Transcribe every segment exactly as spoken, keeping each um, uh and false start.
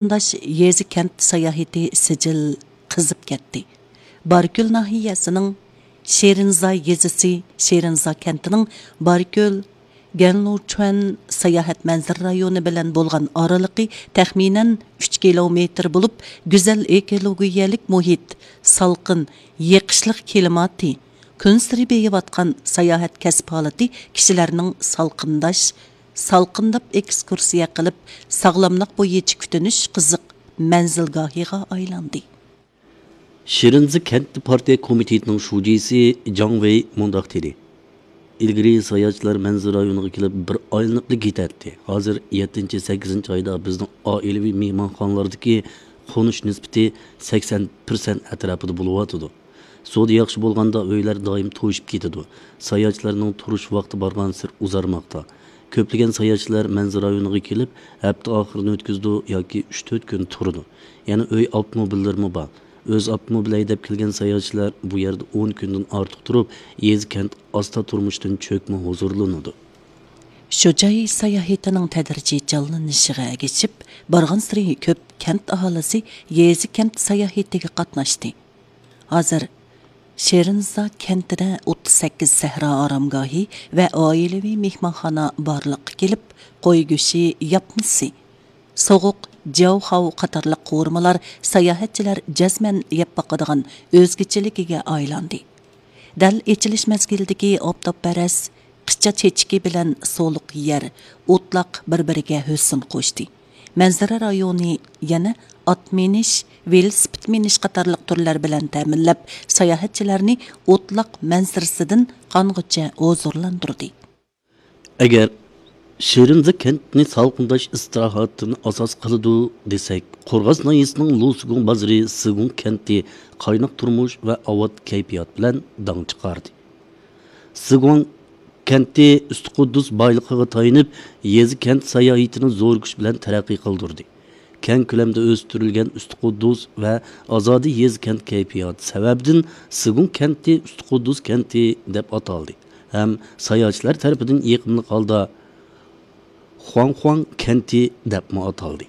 قېرىنداش يېزا كەنت ساياھىتى سىجىل قىزىپ كەتتى. باركۆل ناھىيەسىنىڭ شېرىنزا يېزىسى، شېرىنزا كەنتىنىڭ باركۆل گەنلۇچۈەن ساياھەت مەنزىرە رايونى بىلەن بولغان ئارىلىقى تەخمىنەن ئۈچ كىلومېتىر بولۇپ، گۈزەل ئېكولوگىيەلىك مۇھىت، سالقىن، يېقىشلىق كىلىماتى، كۈنسېرى بېيىۋاتقان ساياھەت كەسىپ ھالىتى كىشىلەرنىڭ سالقىنداش، سالقىنداپ ئېكسكۇرسىيە قىلىپ، ساغلاملىق بويىچە كۈتۈنۈش قىزىق مەنزىلگاھىغا ئايلاندى. شىرىنزا كەنت پارتىيە كومىتېتىنىڭ شۇجىسى جاڭ ۋېي مۇنداق دېدى: ئىلگىرى ساياھەتچىلەر مەنزىرە رايونىغا كېلىپ بىر ئايلىنىپلا كېتەتتى. ھازىر يەتتىنچى، سەككىزىنچى ئايدا بىزنىڭ ئائىلىۋى مېھمانخانىلاردىكى قونۇش نىسبىتى سەكسەن پىرسەنت ئەتراپىدا بولۇۋاتىدۇ. سودا ياخشى بولغاندا ئۆيلەر دائىم توشۇپ كېتىدۇ. ساياھەتچىلەرنىڭ تۇرۇش ۋاقتى بارغانسېرى ئۇزارماقتا. كۆپلىگەن ساياھەتچىلەر مەنزىرە رايونىغا كېلىپ، ھەپتە ئاخىرىنى ئۆتكۈزىدۇ ياكى ئۈچ تۆت كۈن تۇرىدۇ. يەنە ئۆي ئاپتوموبىللىرىمۇ بار. ئۆز ئاپتوموبىلى ھەيدەپ كەلگەن ساياھەتچىلەر بۇ يەردە ئون كۈندىن ئارتۇق تۇرۇپ، يېزا كەنت ئاستا تۇرمۇشتىن چۆكمە ھۇزۇرلىنىدۇ. شۇ جاي ساياھىتىنىڭ تەدرىجىي جانلىنىشىغا ئەگىشىپ، بارغانسېرى كۆپ كەنت ئاھالىسى يېزا كەنت ساياھىتىگە قاتناشتى. ھازىر شېرىنزا كەنتىدە ئوتتۇز سەككىز سەھرا ئارامگاھى ۋە ئائىلىۋى مېھمانخانا بارلىققا كېلىپ، قوي گۆشى ياپمىسى، سوغۇق جياۋخاۋ قاتارلىق قورۇمىلار ساياھەتچىلەر جەزمەن يەپ باقىدىغان ئۆزگىچىلىكىگە ئايلاندى. دەل ئېچىلىش مەزگىلىدىكى ئاپتاپپەرەس قىچا چېچىكى بىلەن سولۇق يەر، ئوتلاق بىر-بىرىگە ھۆسن قوشتى. مەنزىرە رايونى يەنە ئات مىنىش، ۋېلىسىپىت مىنىش قاتارلىق تۈرلەر بىلەن تەمىنلەپ، ساياھەتچىلەرنى ئوتلاق مەنزىرىسىدىن قانغۇچە ھۇزۇرلاندۇردى. ئەگەر شىرىنزا كەنتنى سالقىنداش ئىستىراھەتتىن ئاساس قىلىدۇ دېسەك، قورغاس ناھىيەسىنىڭ لۇسىگۇڭ بازىرى سىگۇڭ كەنتى قايناق تۇرمۇش ۋە ئاۋات كەيپىيات بىلەن داڭ چىقاردى. سىگۇڭ كەنتى ئۈستى قۇددۇس بايلىقىغا تايىنىپ، يېزا كەنت ساياھىتىنى زور كۈچ بىلەن تەرەققىي قىلدۇردى. كەڭ كۆلەمدە ئۆستۈرۈلگەن ئۈستى قۇددۇس ۋە ئازادە يېزا كەنت كەيپىياتى سەۋەبىدىن، سىگۇڭ كەنتى ئۈستى قۇددۇس كەنتى دەپ ئاتالدى ھەم ساياھەتچىلەر تەرىپىدىن يېقىملىق ھالدا خۇاڭخۇاڭ كەنتى دەپمۇ ئاتالدى.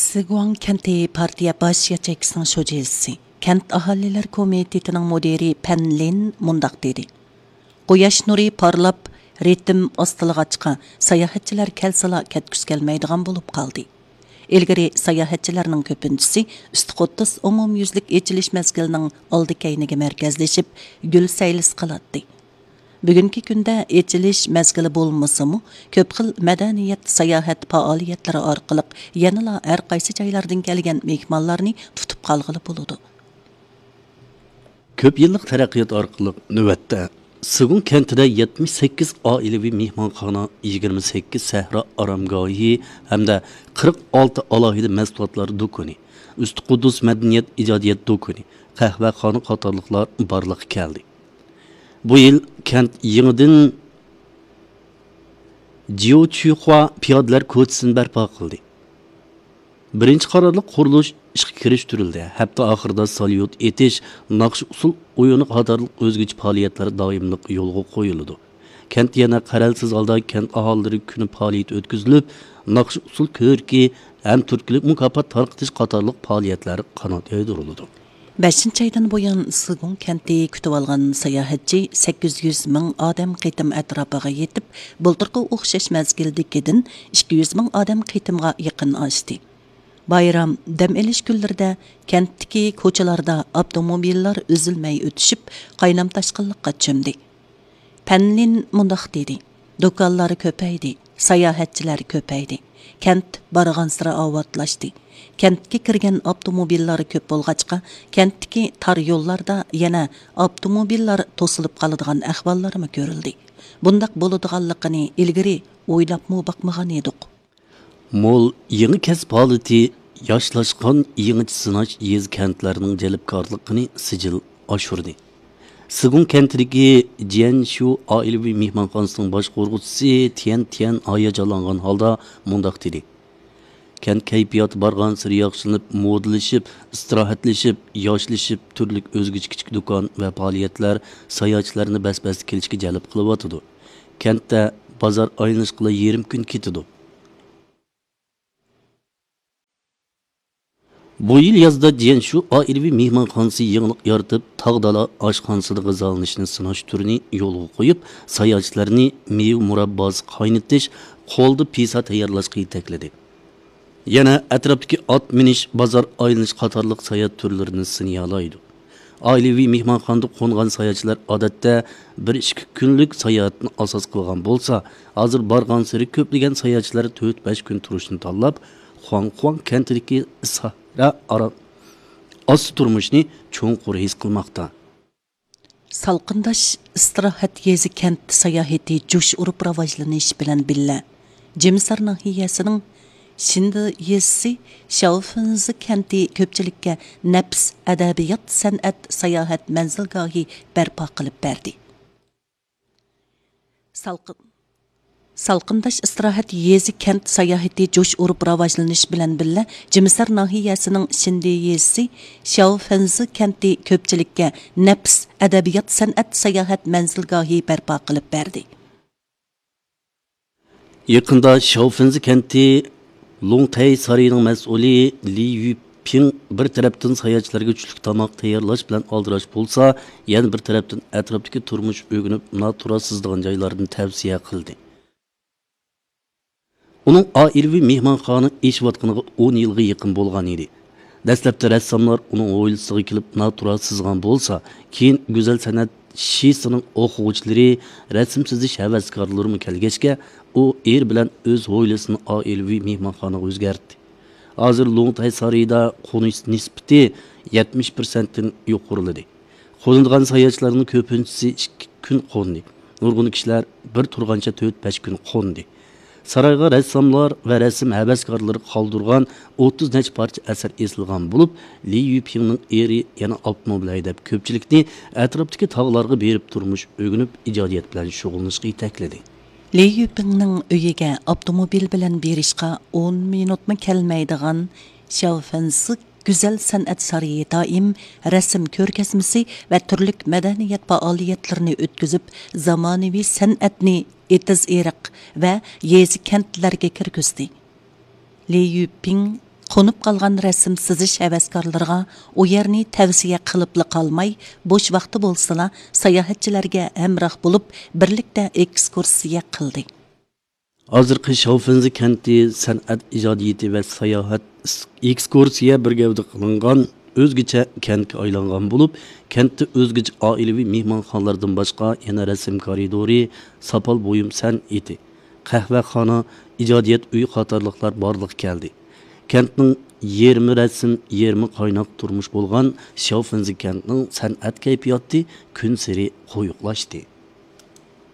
سىگۇاڭ كەنتى پارتىيە باش ياچېيكىسىنىڭ شۇجىسى، كەنت ئاھالىلەر كومىتېتىنىڭ مۇدىرى پەن لىن مۇنداق دېدى: قۇياش نۇرى پارلاپ، رىتىم ئاستىلىغاچقا، ساياھەتچىلەر كەلسىلا كەتكۈسى كەلمەيدىغان بولۇپ قالدى. ئىلگىرى ساياھەتچىلەرنىڭ كۆپىنچىسى ئۈستى قۇددۇس ئومۇميۈزلۈك ئېچىلىش مەزگىلىنىڭ ئالدى كەينىگە مەركەزلىشىپ، گۈل سەيلىسى قىلاتتى. بۈگۈنكى كۈندە ئېچىلىش مەزگىلى بولمىسىمۇ، كۆپ خىل مەدەنىيەت، ساياھەت پائالىيەتلىرى ئارقىلىق يەنىلا ھەر قايسى جايلاردىن كەلگەن مېھمانلارنى تۇتۇپ قالغىلى بولىدۇ. كۆپ يىللىق تەرەققىيات ئارقىلىق نۆۋەتتە سىگۇڭ كەنتىدە يەتمىش سەككىز ئائىلىۋى مېھمانخانا، يىگىرمە سەككىز سەھرا ئارامگاھى ھەمدە قىرىق ئالتە ئالاھىدە مەھسۇلاتلار دۇكىنى، ئۈستى قۇددۇس مەدەنىيەت ئىجادىيەت دۇكىنى، قەھۋەخانا قاتارلىقلار بارلىققا كەلدى. بۇ يىل كەنت يېڭىدىن جيۇچۈخۇا پىيادىلەر كوچىسىنى بەرپا قىلدى. بىرىنچى قاتارلىق قۇرۇلۇش ئىشقا كىرىشتۈرۈلدى. ھەپتە ئاخىرىدا ساليۇت ئېتىش، ناخشا ئۇسسۇل ئويۇنى قاتارلىق ئۆزگىچە پائالىيەتلەر دائىملىق يولغا قويۇلىدۇ. كەنت يەنە قەرەلسىز ھالدا كەنت ئاھالىلىرى كۈنى پائالىيىتى ئۆتكۈزۈلۈپ، ناخشا ئۇسسۇل كۆرىكى ھەم تۈرتكىلىك مۇكاپات تارقىتىش قاتارلىق پائالىيەتلەر قانات يايدۇرۇلىدۇ. بەشىنچى ئايدىن بۇيان، سىگۇڭ كەنتى كۈتۈۋالغان ساياھەتچى سەككىز يۈز مىڭ ئادەم قېتىم ئەتراپىغا يېتىپ، بۇلتۇرقى ئوخشاش مەزگىلدىكىدىن ئىككى يۈز مىڭ ئادەم قېتىمغا يېقىن ئاشتى. بايرام، دەم ئېلىش كۈنلىرىدە كەنتتىكى كوچىلاردا ئاپتوموبىللار ئۈزۈلمەي ئۆتۈشۈپ، قاينام تاشقىنلىققا چۆمدى. پەنلىن مۇنداق دېدى: دۇكانلار كۆپەيدى، ساياھەتچىلەر كۆپەيدى، كەنت بارغانسېرى ئاۋاتلاشتى. كەنتكە كىرگەن ئاپتوموبىللار كۆپ بولغاچقا، كەنتتىكى تار يوللاردا يەنە ئاپتوموبىللار توسۇلۇپ قالىدىغان ئەھۋاللارمۇ كۆرۈلدى. بۇنداق بولىدىغانلىقىنى ئىلگىرى ئويلاپمۇ باقمىغان ئىدۇق. مول يېڭى كەسىپ ھالىتى، ياشلاشقان يېڭىچە سىناش يېزا كەنتلەرنىڭ جەلپكارلىقىنى سىجىل ئاشۇردى. سىگۇڭ كەنتىدىكى جيەنشۇ ئائىلىۋى مېھمانخانىسىنىڭ باشقۇرغۇچىسى تيەن تيەن ھاياجانلانغان ھالدا مۇنداق دېدى: كەنت كەيپىياتى بارغانسېرى ياخشىلىنىپ، مودىلىشىپ، ئىستىراھەتلىشىپ، ياشلىشىپ، تۈرلۈك ئۆزگىچە كىچىك دۇكان ۋە پائالىيەتلەر ساياھەتچىلەرنى بەس-بەستە كېلىشكە جەلپ قىلىۋاتىدۇ. كەنتتە بازار ئايلىنىشقىلا يېرىم كۈن كېتىدۇ. بۇ يىل يازدا جيەنشۇ ئائىلىۋى مېھمانخانىسى يېڭىلىق يارىتىپ، تاغ دالا ئاشخانىسىدا غىزالىنىشنى سىناش تۈرىنى يولغا قويۇپ، ساياھەتچىلەرنى مېۋە مۇرابباسى قاينىتىش، قولدا پىسا تەييارلاشقا يېتەكلىدى. يەنە ئەتراپتىكى ئات مىنىش، بازار ئايلىنىش قاتارلىق ساياھەت تۈرلىرىنى سىنىيالايدۇ. ئائىلىۋى مېھمانخانىدا قونغان ساياھەتچىلەر ئادەتتە بىر ئىككى كۈنلۈك ساياھەتنى ئاساس قىلغان بولسا، ھازىر بارغانسېرى كۆپلىگەن ساياھەتچىلەر تۆت بەش كۈن تۇرۇشنى تاللاپ، خۇاڭخۇاڭ كەنتىدىكى سەھرا ئارا ئاستا تۇرمۇشنى چوڭقۇر ھېس قىلماقتا. سالقىنداش ئىستىراھەت يېزا كەنت ساياھىتى جۇش ئۇرۇپ راۋاجلىنىش بىلەن بىللە، جىمىسار ناھىيەسىنىڭ شىندى يېزىسى شياۋفېنزى كەنتى كۆپچىلىككە نەپىس ئەدەبىيات سەنئەت ساياھەت مەنزىلگاھى بەرپا قىلىپ بەردى. سالقىن، سالقىنداش ئىستىراھەت يېزا كەنت ساياھىتى جۇش ئۇرۇپ راۋاجلىنىش بىلەن بىللە، جىمىسار ناھىيەسىنىڭ شىندى يېزىسى شياۋفېنزى كەنتى كۆپچىلىككە نەپىس ئەدەبىيات سەنئەت ساياھەت مەنزىلگاھى بەرپا قىلىپ بەردى. يېقىندا شياۋفېنزى كەنتى لۇڭتەي سارىيىنىڭ مەسئۇلى لى يۈپىڭ بىر تەرەپتىن ساياھەتچىلەرگە چۈشلۈك تاماق تەييارلاش بىلەن ئالدىراش بولسا، يەنە بىر تەرەپتىن ئەتراپتىكى تۇرمۇش ئۆگىنىپ، ناتۇرا سىزىدىغان جايلاردىن تەۋسىيە قىلدى. ئۇنىڭ ئائىلىۋى مېھمانخانا ئېچىۋاتقىنىغا ئون يىلغا يېقىن بولغان ئىدى. دەسلەپتە رەسساملار ئۇنىڭ ھويلىسىغا كېلىپ ناتۇرا سىزغان بولسا، كېيىن گۈزەل سەنئەت شىسىنىڭ ئوقۇغۇچىلىرى، رەسىم سىزىش ھەۋەسكارلىرىمۇ كەلگەچكە، ئۇ ئېرى بىلەن ئۆز ھويلىسىنى ئائىلىۋى مېھمانخانىغا ئۆزگەرتتى. ھازىر لۇڭتەي سارىيىدا قونۇش نىسبىتى يەتمىش پىرسەنتتىن يۇقىرىلىدى. قونىدىغان ساياھەتچىلەرنىڭ كۆپىنچىسى ئىككى كۈن قوندى. نۇرغۇن كىشىلەر بىر تۇرغانچە تۆت-بەش كۈن قوندى. سارايغا رەسساملار ۋە رەسىم ھەۋەسكارلىرى قالدۇرغان ئوتتۇز نەچچە پارچە ئەسەر ئېسىلغان بولۇپ، لى يۈپىڭنىڭ ئېرى يەنە ئاپتوموبىل ھەيدەپ، كۆپچىلىكنى ئەتراپتىكى تاغلارغا بېرىپ تۇرمۇش ئۆگىنىپ، ئىجادىيەت بىلەن شۇغۇللىنىشقا يېتەكلىدى. لى يۈپىڭنىڭ ئۆيىگە ئاپتوموبىل بىلەن بېرىشقا ئون مىنۇتمۇ كەلمەيدىغان شياۋفېنزى گۈزەل سەنئەت سارىيى دائىم رەسىم كۆرگەزمىسى ۋە تۈرلۈك مەدەنىيەت پائالىيەتلىرىنى ئۆتكۈزۈپ، زامانىۋى سەنئەتنى ئېتىز-ئېرىق ۋە يېزا-كەنتلەرگە كىرگۈزدى. لى يۈپىڭ قونۇپ قالغان رەسىم سىزىش ھەۋەسكارلىرىغا ئۇ يەرنى تەۋسىيە قىلىپلا قالماي، بوش ۋاقتى بولسىلا ساياھەتچىلەرگە ھەمراھ بولۇپ، بىرلىكتە ئېكسكۇرسىيە قىلدى. ھازىرقى شياۋفېنزى كەنتى سەنئەت ئىجادىيىتى ۋە ساياھەت ئېكسكۇرسىيە بىر گەۋدە قىلىنغان ئۆزگىچە كەنتكە ئايلانغان بولۇپ، كەنتتە ئۆزگىچە ئائىلىۋى مېھمانخانىلاردىن باشقا يەنە رەسىم كارىدورى، ساپال بۇيۇم سەنئىتى، قەھۋەخانا، ئىجادىيەت ئۆيى قاتارلىقلار بارلىققا كەلدى. كەنتنىڭ يېرىمى رەسىم، يېرىمى قايناق تۇرمۇش بولغان شياۋفېنزى كەنتىنىڭ سەنئەت كەيپىياتى كۈنسېرى قويۇقلاشتى.